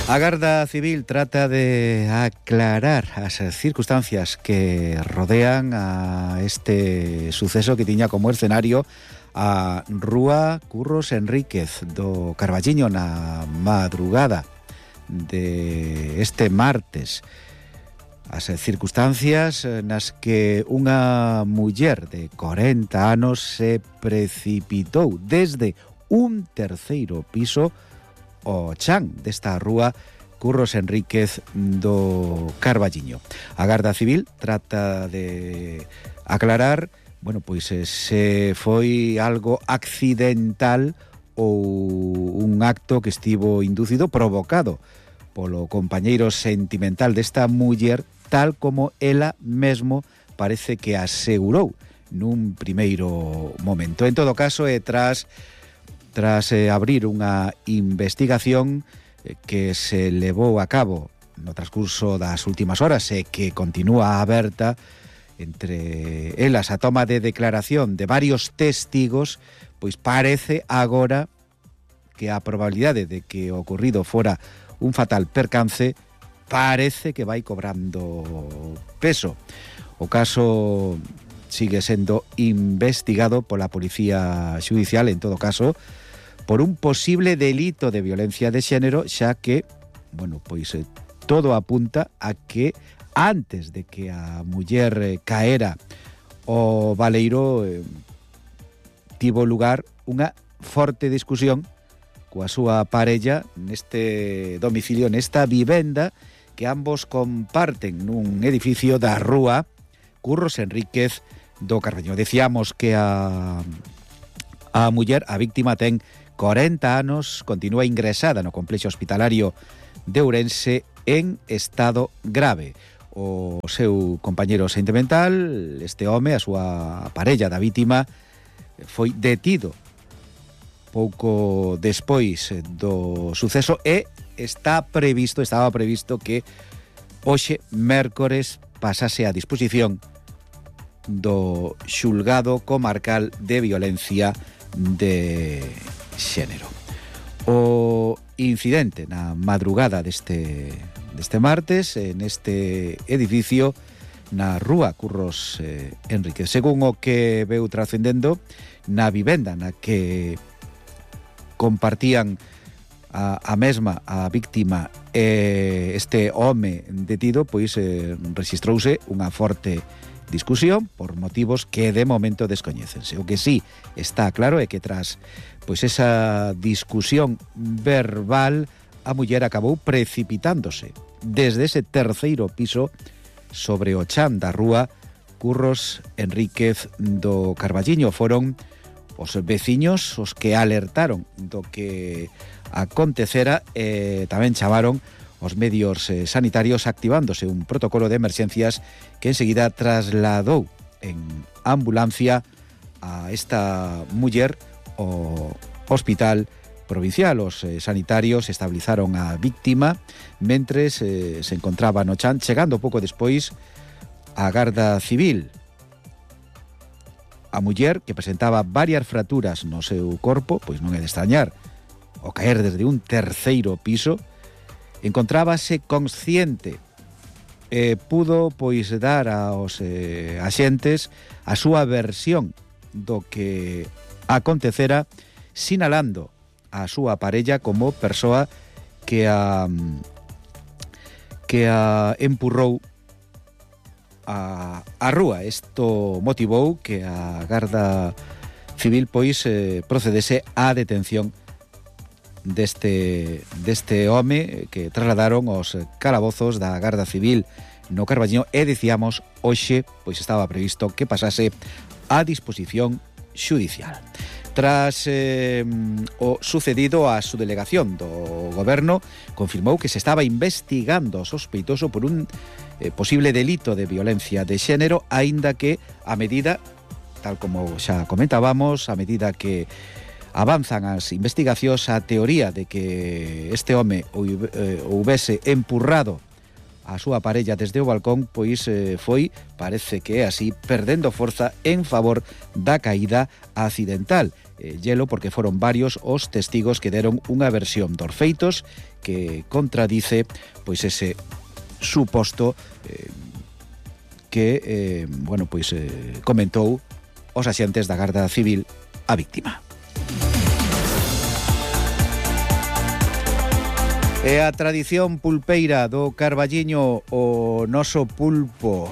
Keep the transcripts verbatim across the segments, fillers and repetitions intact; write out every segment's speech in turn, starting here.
A Garda Civil trata de aclarar as circunstancias que rodean a este suceso que tiña como escenario a Rúa Curros Enríquez do Carballiño na madrugada de este martes. As circunstancias nas que unha muller de corenta anos se precipitou desde un terceiro piso o chan desta rúa Curros Enríquez do Carballiño. A Garda Civil trata de aclarar, bueno, pois se foi algo accidental ou un acto que estivo inducido, provocado polo compañeiro sentimental desta muller, tal como ela mesmo parece que asegurou nun primeiro momento. En todo caso, e tras Tras eh, abrir unha investigación eh, que se levou a cabo no transcurso das últimas horas e que continúa aberta, entre elas a toma de declaración de varios testigos, pois parece agora que a probabilidade de que o ocorrido fora un fatal percance parece que vai cobrando peso. O caso sigue sendo investigado pola Policía Xudicial, en todo caso, por un posible delito de violencia de xénero, xa que, bueno, pois eh, todo apunta a que antes de que a muller eh, caera o baleiro eh, tivo lugar unha forte discusión coa súa parella neste domicilio, nesta vivenda que ambos comparten nun edificio da rúa Curros Enríquez do Carballiño. Decíamos que a, a muller, a víctima, ten corenta anos, continúa ingresada no complexo hospitalario de Ourense en estado grave. O seu compañeiro sentimental, este home, a súa parella da vítima, foi detido pouco despois do suceso e está previsto, estaba previsto que hoxe, mércores, pasase a disposición do xulgado comarcal de violencia de xénero. O incidente na madrugada deste, deste martes en este edificio na rúa Curros eh, Enríquez. Según o que veu trascendendo, na vivenda na que compartían a, a mesma a víctima e este home detido, pois eh, registrouse unha forte discusión por motivos que de momento descoñécense. O que sí está claro é que tras pois esa discusión verbal, a muller acabou precipitándose desde ese terceiro piso sobre o chan da rúa Curros Enríquez do Carballiño. Foron os veciños os que alertaron do que acontecera e tamén chamaron os medios eh, sanitarios, activándose un protocolo de emerxencias que enseguida trasladou en ambulancia a esta muller ao hospital provincial. Os eh, sanitarios estabilizaron a víctima mentres eh, se encontraba no chan, chegando pouco despois a Garda Civil. A muller, que presentaba varias fraturas no seu corpo, pois non é de extrañar, ao caer desde un terceiro piso, encontrábase consciente e pudo pois dar aos eh, axentes a súa versión do que acontecera, sinalando a súa parella como persoa que a que a empurrou a, a rúa. Isto motivou que a Garda Civil pois eh, procedese á detención deste, deste home que trasladaron os calabozos da Garda Civil no Carballiño e dicíamos hoxe pois estaba previsto que pasase a disposición xudicial. Tras eh, o sucedido, a subdelegación do Goberno confirmou que se estaba investigando o sospeitoso por un eh, posible delito de violencia de xénero, aínda que a medida, tal como xa comentábamos, a medida que avanzan as investigacións, a teoría de que este home houvese empurrado a súa parella desde o balcón, pois eh, foi, parece que é así, perdendo forza en favor da caída accidental. eh, hielo porque foron varios os testigos que deron unha versión dos feitos que contradice pois ese suposto eh, que eh, bueno, pois eh, comentou os axentes da Garda Civil a víctima. E a tradición pulpeira do Carballiño, o noso pulpo,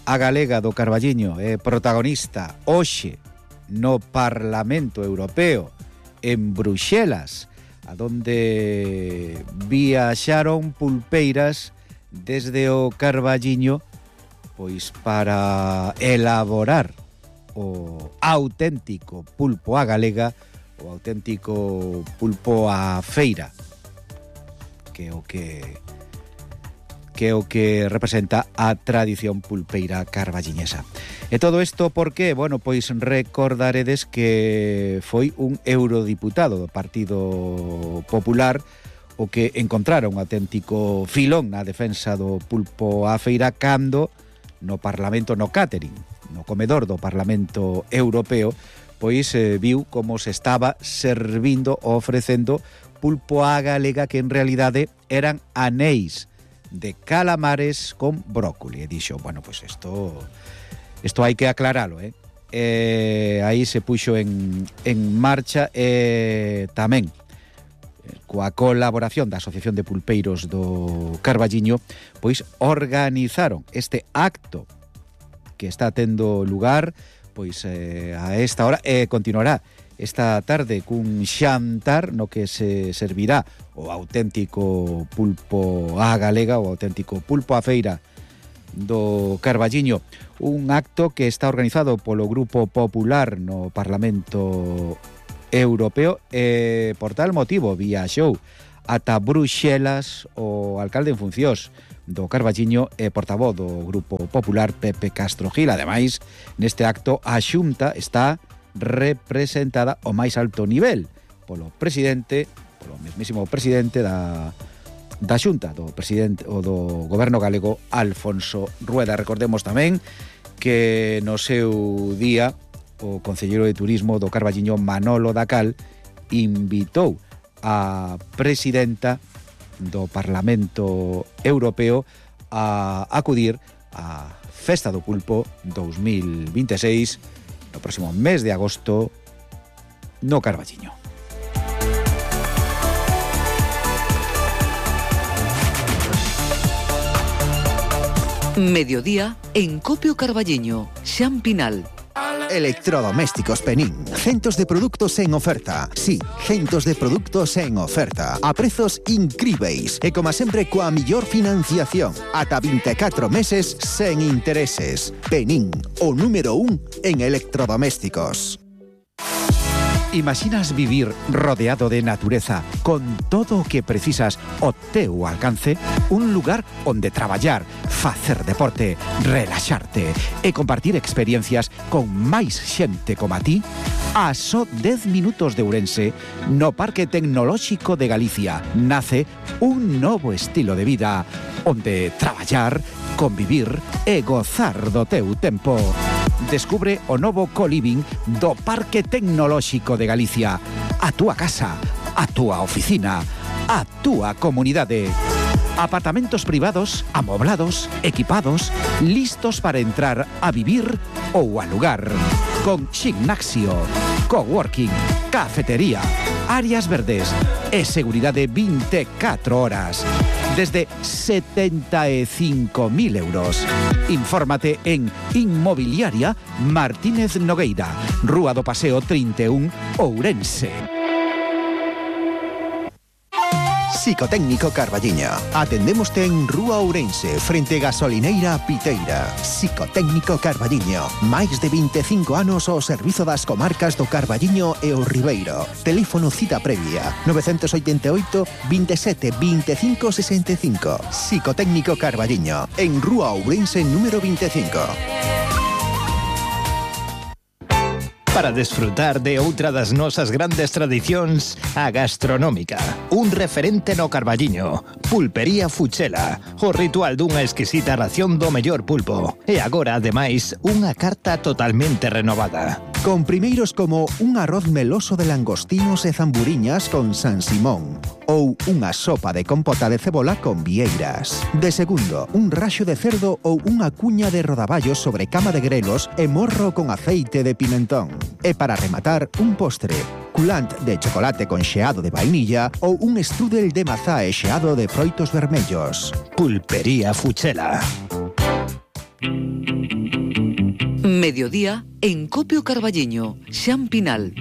a galega do Carballiño, é protagonista hoxe no Parlamento Europeo, en Bruxelas, a donde viaxaron pulpeiras desde o Carballiño pois para elaborar o auténtico pulpo a galega, o auténtico pulpo a feira, que é o que que é o que representa a tradición pulpeira carballiñesa. E todo isto porque, bueno, pois recordaredes que foi un eurodiputado do Partido Popular o que encontrara un auténtico filón na defensa do pulpo a feira cando no Parlamento, no catering, no comedor do Parlamento Europeo, pois eh, viu como se estaba servindo ou ofrecendo pulpo a galega que en realidade eran anéis de calamares con brócoli. E dixo, bueno, pois isto isto hai que aclaralo, eh? E aí se puxo en, en marcha e tamén coa colaboración da Asociación de Pulpeiros do Carballiño, pois organizaron este acto que está tendo lugar pois eh, a esta hora e continuará esta tarde cun xantar no que se servirá o auténtico pulpo a galega, o auténtico pulpo a feira do Carballiño, un acto que está organizado polo Grupo Popular no Parlamento Europeo e por tal motivo viaxou ata Bruxelas o alcalde en funcións do Carballiño e portavoz do Grupo Popular Pepe Castro Gil. Ademais, neste acto a Xunta está representada ao máis alto nivel polo presidente, polo mesmísimo presidente da da Xunta, do presidente o do goberno galego, Alfonso Rueda. Recordemos tamén que no seu día o concelleiro de turismo do Carballiño, Manolo Dacal, invitou a presidenta do Parlamento Europeo a acudir á Festa do Pulpo dous mil vinte e seis no próximo mes de agosto no Carballiño. Mediodía en Copio Carballiño, Xan Pinal. Electrodomésticos Penín. Centos de productos en oferta. Sí, centos de productos en oferta. A prezos incríveis. E como sempre coa millor financiación. Ata vinte e catro meses sen intereses. Penín, o número un en electrodomésticos. Imaginas vivir rodeado de natureza, con todo o que precisas ao teu alcance? Un lugar onde traballar, facer deporte, relaxarte e compartir experiencias con máis xente como a ti? A só dez minutos de Ourense, no Parque Tecnolóxico de Galicia, nace un novo estilo de vida, onde traballar, convivir e gozar do teu tempo. Descubre o novo co-living do Parque Tecnolóxico de Galicia. A túa casa, a túa oficina, a túa comunidade. Apartamentos privados, amoblados, equipados, listos para entrar a vivir ou alugar. Con gimnasio, coworking, cafetería, áreas verdes e seguridade vinte e catro horas. Desde setenta e cinco mil euros. Infórmate en Inmobiliaria Martínez Nogueira, Rúa do Paseo trinta e un, Ourense. Psicotécnico Carballiño. Atendémoste en Rúa Ourense, frente Gasolineira Piteira. Psicotécnico Carballiño. Máis de vinte e cinco anos ao servizo das comarcas do Carballiño e o Ribeiro. Teléfono cita previa nove oito oito, veintisiete, veinticinco sesenta e cinco. Psicotécnico Carballiño, en Rúa Ourense número vinte e cinco. Para desfrutar de outra das nosas grandes tradicións, a gastronómica. Un referente no Carballiño. Pulpería Fuchela. O ritual dunha exquisita ración do mellor pulpo. E agora, ademais, unha carta totalmente renovada. con primeiros como un arroz meloso de langostinos e zamburiñas con San Simón ou unha sopa de compota de cebola con vieiras. De segundo, un raxo de cerdo ou unha cuña de rodaballos sobre cama de grelos e morro con aceite de pimentón. E para rematar, un postre, culant de chocolate con xeado de vainilla ou un strudel de mazá e xeado de froitos vermellos. Pulpería Fuchela. Mediodía en Copio Carballiño, Xan Pinal.